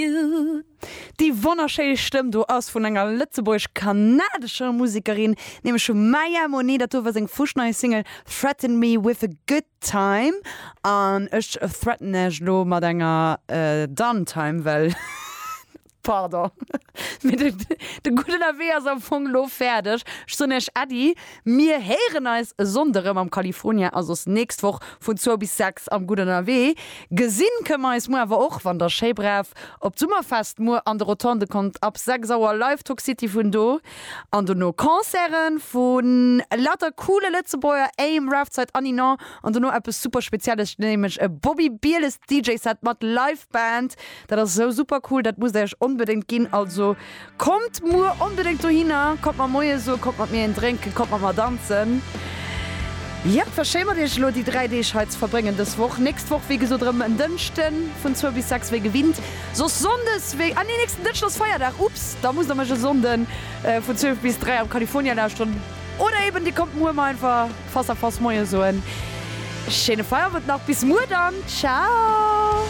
Déi wonnerschéi Stëmm do ass vun enger lëtzebuergesch-kanadescher Musekerin, nämlech vum Maya Monet. Dat do war seng fuschnei Single Threaten Me With A Good Time. An ech threaten iech elo mat enger Done Time, well, pardon, mee de Gudden Ewee ass am Fong elo fäerdeg. Ech soen iech Äddi. Mir héieren eis e Sonnde rëm am California a soss nächst Woch vun zwou bis 6 am Gutt Ënnerwee. Gesinn kënne mer eis muer awer och, wann der schéi brav op d'Summerfest muer an de Rotonde kommt, ab 6 Auer Live Talk City vun do an dono Concerte vu lauter coole Lëtzebuerger, Aim, Rafzeit an Ninon an dono eppes super Spezielles, nämlech e Bobby Bieles DJ Set mat Live Band. Dat ass esou super cool, dat musst der iech onbedéngt ginn. Also Kommt muer onbedéngt dohinner, kommt mer Moie soen, kommt mat mir een drénken, kommt mat mer danzen. Jep, war schéi mat iech elo déi 3 Deeg hei ze verbréngen dës Woch. Nächst Woch wéi gesot erëm en Dënschden vun zwou bis 6 wéi gewinnt, soss Sonndes wéi, ah nee nächsten Dënschden ass Feierdag, ups, da musst der mech e Sonnden vun 12 bis 3 am California lauschteren oder eben dir kommt muer mer einfach face à face Moie soen. Schéine Feierowend nach, bis muer dann, ciao.